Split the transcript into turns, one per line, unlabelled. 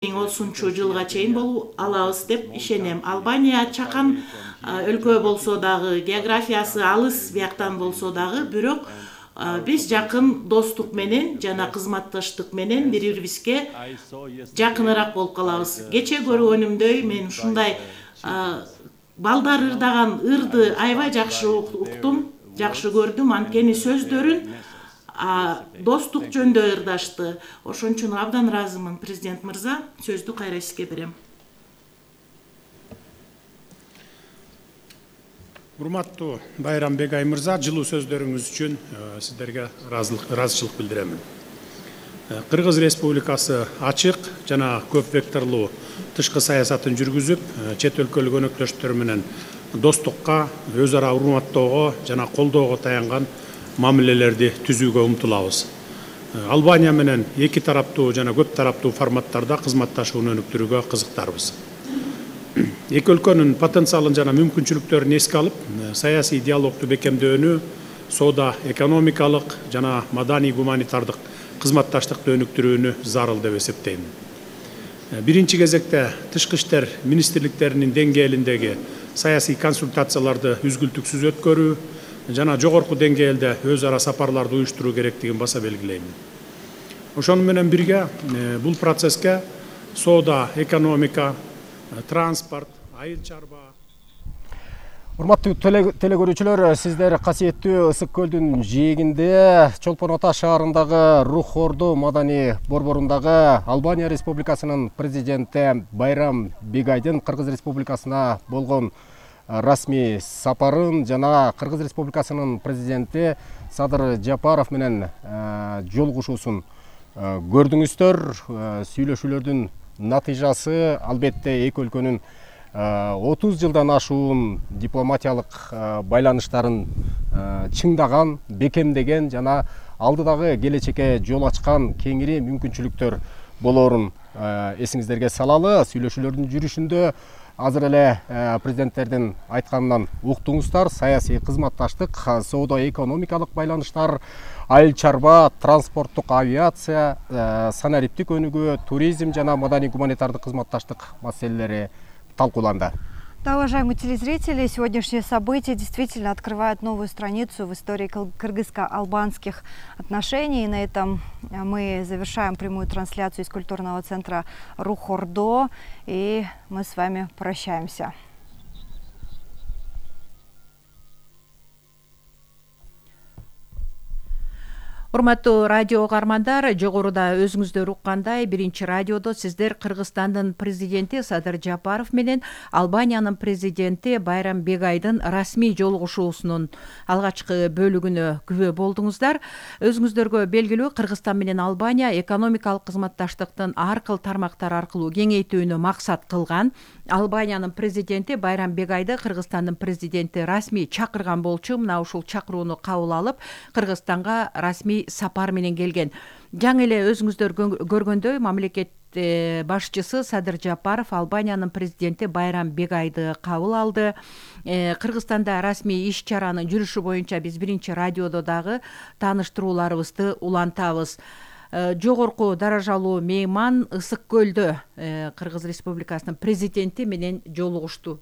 2030 чейин болуп алабыз деп ишенем. Албания чакан өлкө болсо дагы, географиясы алыс бияктан болсо дагы, бирок биз жакын достук менен жана кызматташтык менен бири-бирибизге жакыныраак болуп калабыз. Кече көргөнүмдөй мен ушундай балдар ырдаган ырды аябай жакшы уктум, жакшы көрдүм. Анткени сөздөрүн достук жөнүндө ырдашты. Ошон үчүн абдан ыраазымын. Президент мырза, сөздү кайра сизге берем.
Урматтуу Байрам Бегай мырза, жылуу сөздөрүңүз үчүн сиздерге ыраазычылык билдирем. Кыргыз Республикасы ачык жана көп векторлуу тышкы саясатын жүргүзүп, чет өлкөлүк өнөктөштөр менен достукка, өз ара урматтоого жана колдоого таянган мамилелерди түзүүгө умтулабыз. Албания менен эки тараптуу жана көп тараптуу форматтарда кызматташууну өнүктүрүүгө кызыктарбыз. Эки өлкөнүн потенциалын жана мүмкүнчүлүктөрүн эске алып, саясий диалогду бекемдөөнү, соода экономикалык жана маданий гуманитардык кызматташтыкты өнүктүрүүнү зарыл деп эсептейм. Биринчи кезекте тышкы иштер министрликтеринин деңгээлиндеги саясий консультацияларды үзгүлтүксүз өткөрүү жана жогорку деңгээлде өз ара сапарларды уюштуруу керектигин баса белгилейм. Ошону менен бирге бул процесске соода, экономика, транспорт, айыл чарба.
Урматтуу телекөрүүчүлөр, сиздер касиеттүү Ысык көлдүн жээгинде Чолпон Ата шаарындагы Рух Орду маданий борборундагы Албания Республикасынын президенти Байрам Бегайдын Кыргыз Республикасына болгон расмий сапарын жана Кыргыз Республикасынын президенти Садыр Жапаров менен жолугушуусун көрдүңүздөр. Сүйлөшүүлөрдүн натыйжасы албетте эки өлкөнүн 30 жылдан ашуун дипломатиялык байланыштарын чыңдаган, бекемдеген жана алдыдагы келечекке жол ачкан кеңири мүмкүнчүлүктөр болоорун эсиңиздерге салалы. Сүйлөшүүлөрдүн жүрүшүндө азыр эле президенттердин айтканынан уктуңуздар. Саясий кызматташтык, соода экономикалык байланыштар, айыл чарба, транспорттук авиация, санариптик өнүгүү, туризм жана маданий гуманитардык кызматташтык маселелери талкууланды.
Да, уважаемые телезрители, сегодняшние события действительно открывают новую страницу в истории кыргызско-албанских отношений. И на этом мы завершаем прямую трансляцию из культурного центра Рух Ордо. И мы с вами прощаемся.
Урматтуу радио угармандар, жогоруда өзүңүздөр уккандай, биринчи радиодо сиздер Кыргызстандын президенти Садыр Жапаров менен Албаниянын президенти Байрам Бегайдын расмий жолугушуусунун алгачкы бөлүгүнө күбө болдуңуздар. Өзүңүздөргө белгилүү, Кыргызстан менен Албания экономикалык кызматташтыктын ар кыл тармактар аркылуу кеңейтүүнү максат кылган. Албаниянын президенти Байрам Бегайды Кыргызстандын президенти расмий чакырган болчу. Мына ушул чакырууну кабыл алып, Кыргызстанга расмий сапар менен келген. Жаңы эле өзүңүздөр көргөндөй, мамлекет башчысы Садыр Жапаров Албаниянын президенти Байрам Бегайды кабыл алды. Кыргызстанда расмий иш чаранын жүрүшү боюнча биз биринчи радиодо дагы тааныштырууларыбызды улантабыз. Жогорку даражалуу мейман Ысык көлдө Кыргыз Республикасынын президенти менен жолугушту.